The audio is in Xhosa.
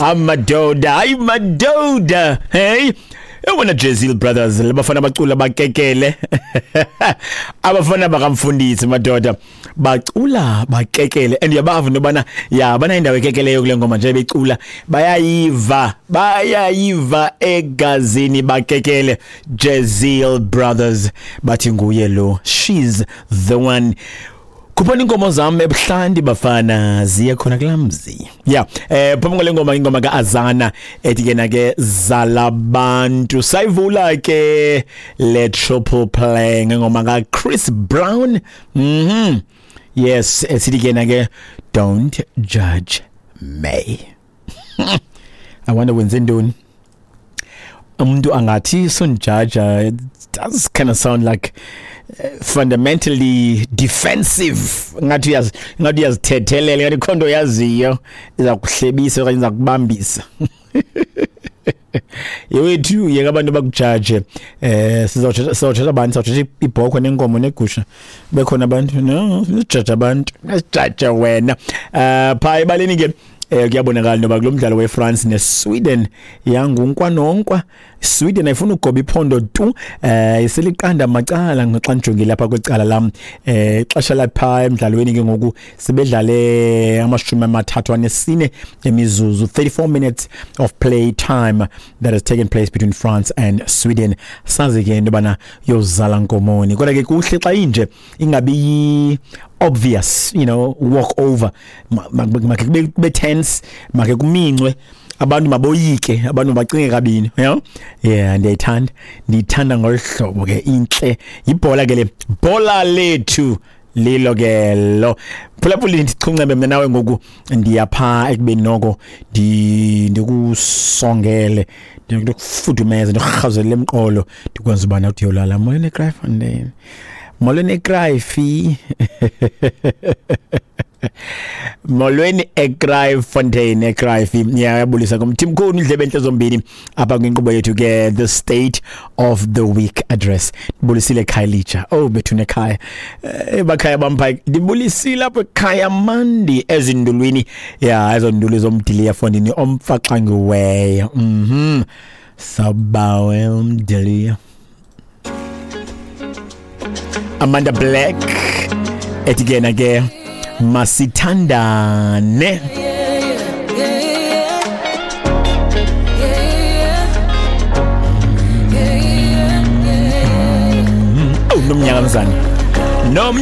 Amadoda, hayi madoda. Hey, ewona Jezil Brothers, labafana bacula bakekele. Abafana bakamfundisi madoda bacula bakekele, and uyabava into yobana ya bana indawo ekekeleyo kule ngoma nje becula, bayayiva, bayayiva egazini, bakekele. Jezil Brothers bathi nguye lo, she's the one. Khuphani inkomo zam ebuhlanti bafana, ziye khona kulaa mzi. Ya, phambi kwale ngoma, ingoma kaAzana ethi ke na ke Zalabantu. Sayivula ke le triple play ngengoma kaChris Brown. Yes, esithi ke na ke don't judge me. I wonder wenze ntoni. Umuntu angathi sunjaja, it does kind of sound like fundamentally defensive, ngathi uyazi, ngathi uyazithethelela, ngathi khonto yaziyo iza kuhlebisa okanye iza kubambisa. Yewethu, yeka abantu bakujaje. Sizawuthetha abantu, sizawuthetha ibhokhwe nenkomo negusha, bekhona abantu, no sijaje abantu, sijaje wena. Phaa ebaleni ke, kuyabonakala noba kulo mdlalo weFrance neSweden yangunkwa nonkwa. Sweden ayifuna ugoba iphondo tu, iseliqanda macala xa ndijongile lapha kwicala lam. Ixesha lapha emdlalweni ke ngoku sibedlale 34 emizuzu, 34 minutes of play time that has taken place between France and Sweden. Sazi ke into yobana yozala nkomoni, kodwa ke kuhle xa inje ingabi obvious, walk over. Make kube tense, make kumincwe abantu, maboyike abantu, bacinge kabini, you know. Yeah, ndiyayithanda, ndiyithanda ngolu hlobo ke, intle yibhola ke le, bhola lethu lilo ke lo. Phulaphula, ndichuncembe mna nawe ngoku, ndiyapha ekubeni noko ndikusongele, ndikufudumeze, ndikurhazele emqolo, ndikwenza ubana uthi uyolala. Molweni eKraaifontein, molweni eKraifi, molweni eKraaifontein, eKraifi. Ngiyabulisa kumthimkhulu indlebe enhle zombini apha kwinkqubo yethu ke, the State of the Week Address. Ndibulisile eKhayelitsha, oh bethu nekhaya, bakhaya bampha, ndibulisile apha ekhaya mandi ezindulwini, ya ezonduli zomdiliya fondini omfaxangiweyo. Sabawe umdiliya. Amanda Black ethi ke na ke masithandane. Oh, nomnyaka mzana. Nom